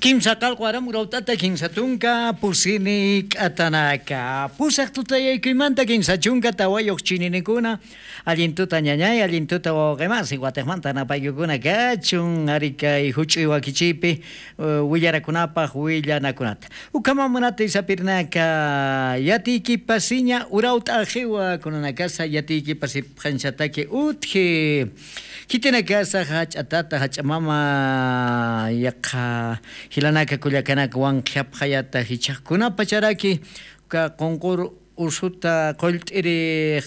Kimsa qalqu aramu rawt'ata kinsa tunka pusini k'atanaka. Pusaq tutayaykuymanta 34 chininikuna allin tuta ñañay, allin tuta wawqimasi, watejmanta napaykukuna kachun ari kay huch'uy wakichiypi willarakunapaq willanakunata. Ukamamunata isapirnaka yatiykipasiña urawt'a qiwa kunanakasa yatiykipasi phanchataki utji. Kitinakasa hach'atata hach'amama yaqa hilanaka kullakanaka wanqhapqayata hichaqkunapa charaki ka qunqur usuta qullt'iri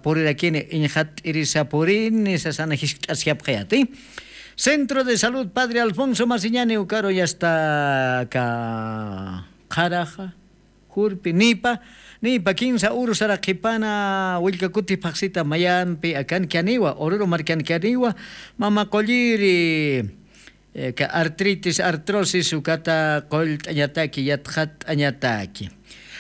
purirakini iñqat'irisa purini sasana hisk'ashyapqayati. Centro de Salud Padre Alfonso Masiñani ukaro ya está ka qaraja jurpi nipa nipa kinsa uru saraqipana willkakuti paqsita mayampi akankianiwa Oruro markankianiwa mama qolliri ka artritis artrosis ukata qollt'añataki yatqat'añataki.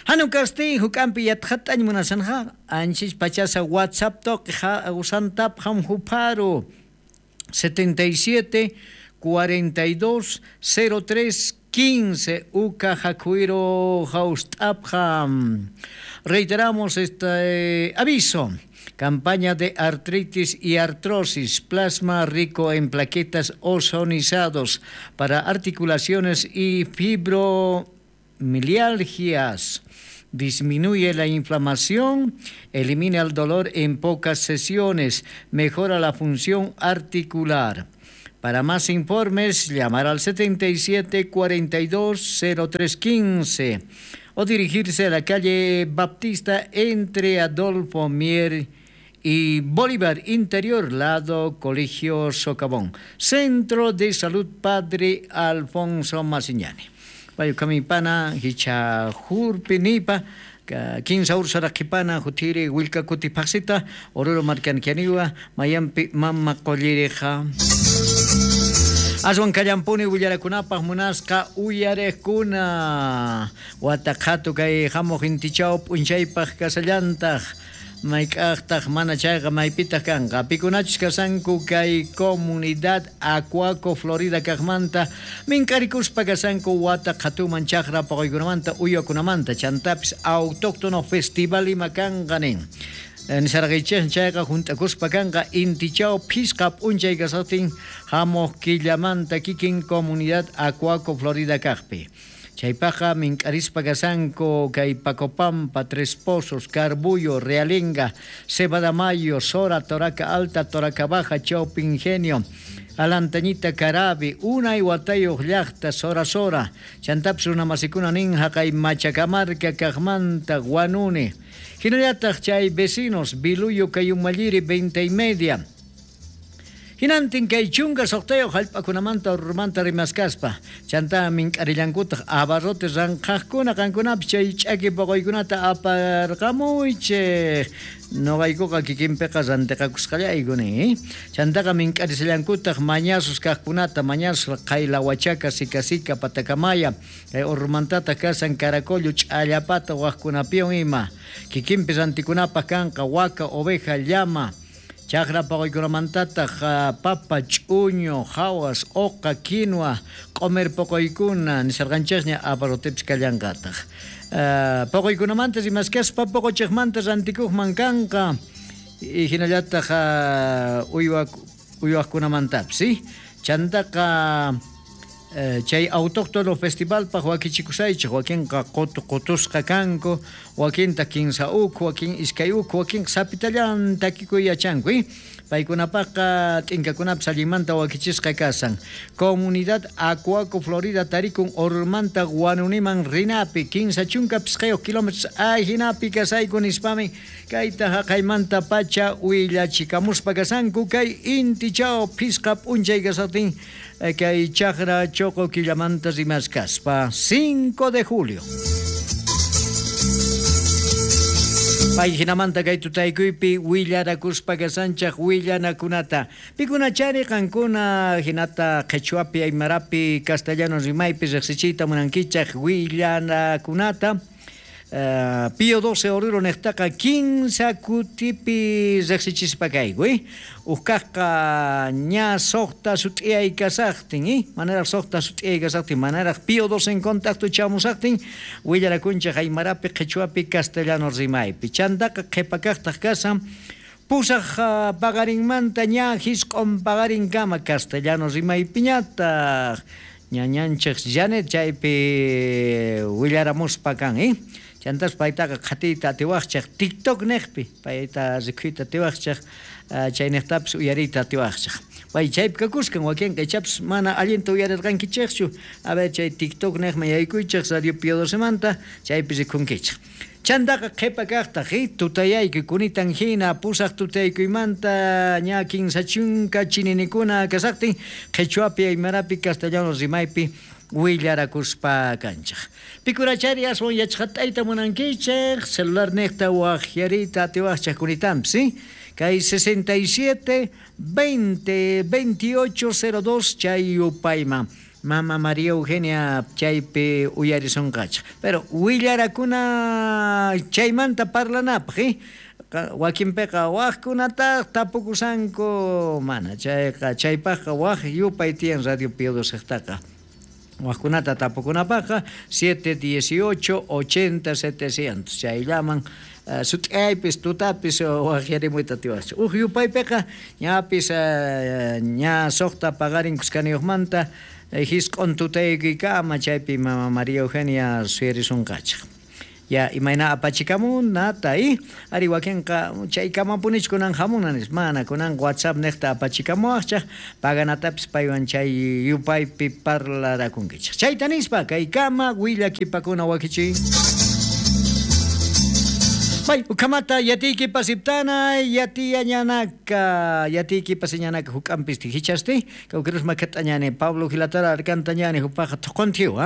Hanu kasti huk'ampi yatqat'añ munasanja anchis pachasa WhatsApp toqi usantap ham huparu 77 42 03 15 Uca Jacuiro Jaustapjam. Reiteramos este aviso. Campaña de artritis y artrosis, plasma rico en plaquetas ozonizados para articulaciones y fibromialgias. Disminuye la inflamación, elimina el dolor en pocas sesiones, mejora la función articular. Para más informes, llamar al 77 42 03 15 o dirigirse a la calle Baptista entre Adolfo Mier y Bolívar Interior, lado Colegio Socavón. Centro de Salud Padre Alfonso Masiñani. Payukamipana, hicha jurpinipa, kinsa ursaraqipana, jutiri willkakuti paqsita, Oruro markankianiwa, mayampi mama qollirija. Aswan kallampuni willarakunapaq munasqa uyarejkuna. Wataqhatu kay hamuq intichaw p'unchaypaq kasallantaq. Mayk'aqtaq mana chayqa maypitaq kanqa. Pikunachus kasanku kay comunidad Acuaco Florida kaqmanta mink'arikuspa kasanku wata qhatuman chaqra paquykunamanta uywakunamanta chantapis autóctono festival ima kanqa nin. Nisarqaychej chayqa junt'akuspa kanqa intichaw phisqa p'unchay kasaqtin hamuq killamanta kikin comunidad Acuaco Florida kaqpi. Chaypaqa mink'arispa kasanku kay Pacopampa, Tres Pozos, Carbullo, Realenga, Cebadamayo, Sora, Toraca Alta, Toraca Baja, Chaupi Ingenio, Alantañita Carabi, Unay Watayuq llaqta, Sora Sora, chantapis runamasikuna nin haqay Machacamarca, Kaqmanta, Guanuni. Hinallataq chay vecinos, Biluyo, Kayumalliri, 20:30. Hinantin kay chunka suqtayuq hallp'akunamanta urmanta rimaskaspa chanta mink'arillankutaq abarrotes ranqhaqkuna qankunapis chay ch'aki poqoykunata aparqamuychik noqaykuqa kikinpiqa rantiqakusqallayku nin chantaqa mink'arisallankutaq mañasus kaqkunata mañasus qaylawachaca sikasika patakamaya kay urmantataq kasan caracollo ch'allapata waqkunapiwan ima kikinpi rantikunapaq kanqa waka oveja llama Chaqra poqoykunamantataq papa, ch'uño, hawas, oqa, quinoa, q'umir poqoykuna nisarqanchikña abarrotepis kallanqataq. Poqoykunamanta rimaskaspa poqochiqmanta rantikuqman kanqa y hinallataq uywaqkunamantapis. Chantaqa chay autóctono festivalpaq wakichikusaychik wakinqa qutu qutusqa kanku wakinta kinsa ukhu wakin iskay ukhu wakin sapitallan takikuy yachanku paykunapaqqa t'inkakunapis allinmanta wakichisqa kasan. Comunidad Acuaco Florida tarikun Ormanta Guanuniman rinapi 35 kilómetros ajinapi kasayku nispami kayta haqaymanta pacha willachikamuspa kasanku kay intichaw phisqa p'unchay kasatin kay chaqra choqo killamanta rimaskaspa 5 de julio. Pay hinamanta kay tutaykuypi willarakuspa kasanchaq willanakunata. Pikunachari qankuna hinata qhichwapi aymarapi castellano rimaypi riqsichiyta munankichaq willanakunata. Pío 12 Oruro nejtaqa 15 kutipi rejsichispa kayku, Ujkajqa ña soqta sut'iyay kasaqtin, manaraj soqta sut'iyay kasaqtin, manaraj Pío 12 en contacto chamusaqtin, willarakunchej aymarapi, qhichwapi, castellano rimaypi. Chantaqa qhipakaqtaq kasan pusaj paqarinmanta ña jisq'on paqarinkama castellano rimaypiñataq. Ñañanchej Janet chaypi willaramuspa kan, Chantas paytaqa qhatiyta atiwaqchej TikTok nejpi, payta rikhuyta atiwaqchej, chaynejtapis uyariyta atiwaqchej. Pay chaypi kakuskan wakinqa ichapis mana allinta uyarirqankichejchu. A ver chay TikTok nejman yaykuychej Radio Pío 12manta, chaypi rikhunkichej. Chantaqa qhipa kaqtaq, tutayaykuy kunitan hina pusaq tutaykuymanta ña 30 chininikuna kasaqtin qhichwapi, aymarapi, castellano rimaypi willarakuspa kanchej. Pikurachari aswan yachqat'ayta munankichej, celular nejta wajyariyta atiwaqchej kunitanpis, Kay 67 20 28 02 chay yupayman. Mama María Eugenia chaypi uyarisonqachej. Pero willarakuna chaymanta parlanapaq, wakinpiqa wajkunataq tapukusanku, mana chayqa chaypaqqa waj yupay tiyan Radio Pío 12 Wajkunata tapukunapaqqa 718 80 700 chayllaman sut'aypis tutapis wajyarimuyta atiwaqchej. Uj yupaypiqa ñapis ña soqta paqarin kuskaniyuqmanta jisq'on tutaykuykama chaypi Mama María Eugenia suyarisunqachej. Ya imayna apachikamunata, ari wakinqa chaykamapunichu kunan hamuna nispa, mana kunan WhatsApp nejta apachikamuwaqchej, paganatapis paywan chay yupaypi parlarakunkichej. Chayta nispa kaykama willakipakuna wakichiy. Bay, ukamata yatiykipa siptana, yatiyañanaka, yatiykipa señanaka huk'anpis tijichasti, kawkirus makat'añani, Pablo Gilatara arkantañani, hupaqa thuquntiw,